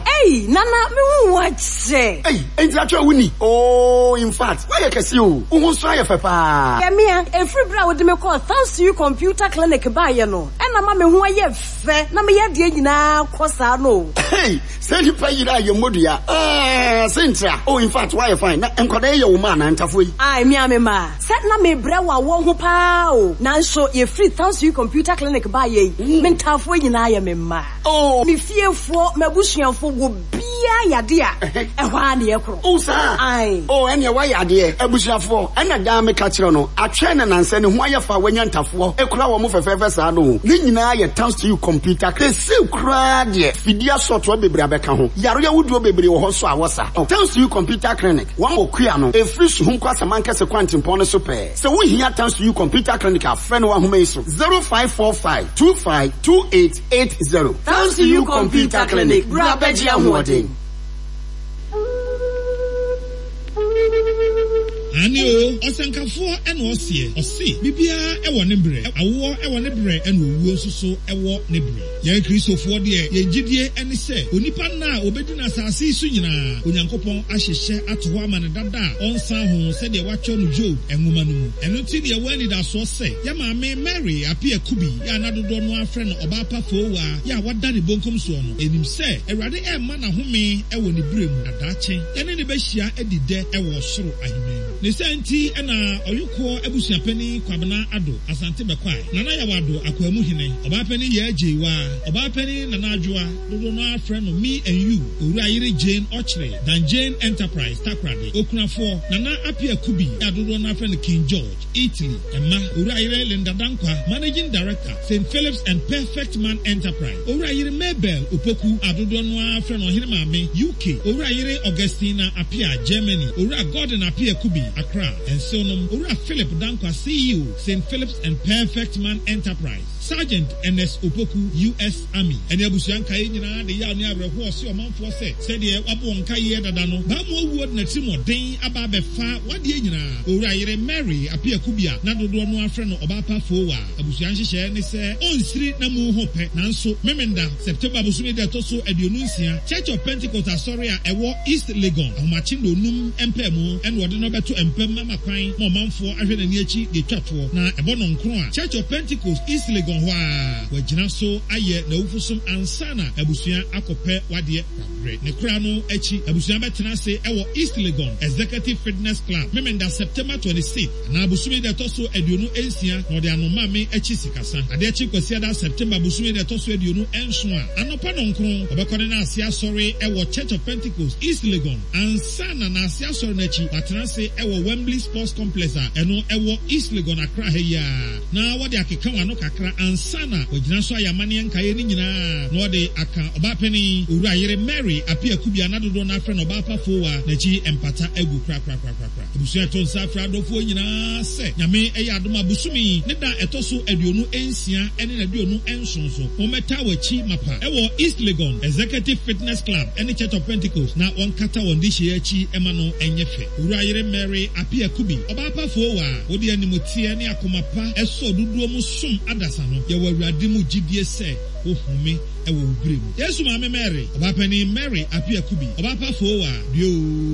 o. Ei Nana me hu wo akyɛ. Ei enti atwerɛ wo ni? Oh infact woayɛ kɛseɛ o, wo ho nso ayɛ fɛ paa. Hwɛ mea, ɛfiri berɛ a wode me kɔɔ Thanks You Computer Clinic baeɛ no ɛna ama me ho ayɛ fɛ na me yadeɛ nyinaa kɔ saa no o. Ei sɛ nnipa yera a yɛ mmɔ dua aah se ntra oh infact woayɛ fine na nkwadaa yi yɛ wo mma anaa ntafoɔ yi? Ae mea me mma. Sɛ na mebrɛ wɔ awɔ ho paa o, nanso yɛfiri Thanks You Computer Clinic baeɛ yi, me ntaafoɔ nyinaa yɛ me mma. Me fiefoɔ, m'abusuafoɔ, obiara yɛ adeɛ a, ɛhɔ ara na yɛkorɔ. Oh saa? Ae. Oh ɛneɛ woayɛ adeɛ. Abusuafoɔ, ɛna daa meka kyerɛ no, atwɛn na nansɛ ne ho ayɛ fɛ a wanya ntafoɔ kura wɔn fɛfɛɛfɛ saa no o. Ne nyinaa yɛ Thanks To You Computer Clinic. Seesei koraa deɛ, fidie asɔɔtoa bebree abɛka ho. Yareɛ ahodoɔ bebree wɔ hɔ nso a wɔsa. Thanks To You Computer Clinic. Wɔn wɔ Kua no, ɛfiri Suhum kɔ Asamankɛse kwantempɔn no so pɛɛ. Sɛ wohia Tansuyu Computer Clinic a, frɛ no wɔ ahoma yi so, 0545 25 2880. Tansuyu Computer Clinic, bra bɛgye ahoɔden. Aane o, ɔsɛnkafoɔ na ɔseɛ, ɔse, Biribiara wɔ ne berɛ, awoɔ wɔ ne berɛ ɛna owuo nso so wɔ ne berɛ. Yɛn Kristofoɔ deɛ, yɛn gyidie ne sɛ, onipa nna a ɔbɛdi no asase yi so nyinaa, Onyankopɔn ahyehyɛ ato hɔ ama no dada a ɔnsan ho sɛdeɛ wɔatwerɛ no Job nwoma no mu. Ɛno nti na yɛwɔ anidasoɔ sɛ, yɛn maame Mary Appiah Kubi yɛ a na dodoɔ no ara frɛ no Ɔbaa Pa Foowaa yɛ a wada ne bonkum soɔ no, yɛnim sɛ Awurade rema no ahome wɔ ne berɛ mu, na daakye yɛne no bɛhyia adi dɛ wɔ ɔsoro ahemman mu. Ne saa nti na Ɔyokoɔ abusuapanin Kwabena Addo Asante Bɛkwae, Nana Yaw Addo Akwaamu Hene, Ɔbaapanin Yaa Gyeiwaa, Ɔbaapanin Nana Adwoa, dodoɔ no ara frɛ no Me and You, Owura Yere Jane Ɔkyere, Dan Jane Enterprise, Takoradi, Okunafoɔ, Nana Appiah Kubi a dodoɔ no ara frɛ no King George, Italy, Mma, Owura Yere Linda Dankwa, Managing Director, Saint Philip's and Perfect Man Enterprise, Owura Yere Mabel Opoku a dodoɔ no ara frɛ no Ɔhene Maame, UK, Owura Yere Augustina Appiah, Germany, Owura Gordon Appiah Kubi, Accra, Nsew-nom, Owura Philip Dankwa, CEO, Saint Philip's and Perfect Man Enterprise, Sergeant Ernest Opoku, US. Army, ne abusua nkaeɛ nyinaa de yaw ne awerɛhoɔ se ɔmanfoɔ sɛ, sɛdeɛ wabɔ wɔn nkaeɛ dada no, Baamu awuo de n'atirimuɔden aba abɛfa w'adeɛ nyinaa. Owura yere Mary Appiah Kubi a na dodoɔ no ara frɛ no Ɔbaa Pa Foowa, abusua nhyehyɛɛ ne sɛ ɔnsiri n'amu ho pɛ, nanso Memenda, September bosome da ɛtɔ so 26, Church of Pentecost Asɔre a ɛwɔ East Legon, ahomakye nnɔnnum mpaemu na wɔde no bɛto mpam ama kwan ma ɔmanfoɔ ahwɛ n'ani akyi deɛ ɛtwa toɔ, na ɛbɔ nnɔnkron a, Church of Pentecost, East Legon hɔ ara, wagyina so ayɛ n'awufosom ansa na abusua akɔpɛ w'adeɛ kwabrɛ. Ne kora no akyi, abusua bɛtena ase wɔ East Legon Executive Fitness Club, Memenda, September 26. Anaa bosome da ɛtɔ so 26 na ɔde ano ma me akyi sikasa. Adeɛ kye Kwasiada, September bosome da ɛtɔ so 27 a, anɔpa nɔnkron, ɔbɛkɔ ne naase asɔre wɔ Church of Pentecost, East Legon, ansa na naase asɔre no akyi, watena ase wɔ Wembley Sports Complex a ɛno ɛwɔ East Legon, Accra ha yi ara, na wɔde akeka wɔn ano kakra ansa na wagyina so ayɛ amanneɛ nkaeɛ no nyinaa na ɔde aka Ɔbaapanin, Owura Yere Mary Appiah Kubi a na dodoɔ no ara frɛ no Ɔbaapa Fowaa n'akyi mpata agu korakorakorakora. Abusua ɛto nsa frɛ adɔfoɔ nyinaa sɛ Nyame yɛ adom a bosome yi ne da a ɛtɔ so 26 ne n'aduonu nson so wɔmmɛtaa w'akyi mapa wɔ East Legon Executive Fitness Club ne Church of Pentecost na wɔnkata wɔn dehyeɛ akyi ma no nyɛ fɛ. Owura yere Mary Appiah Kubi, ɔbaa pa foowa a wode animoteɛ ne akoma pa sɔ dodoɔ mu som adasa no, yɛwɔ Awurade mu gyidie sɛ wo home wɔ wo berɛ mu. Yesu Maame Mary, Ɔbaapanin Mary Appiah Kubi, ɔbaa pa foowa, due oo.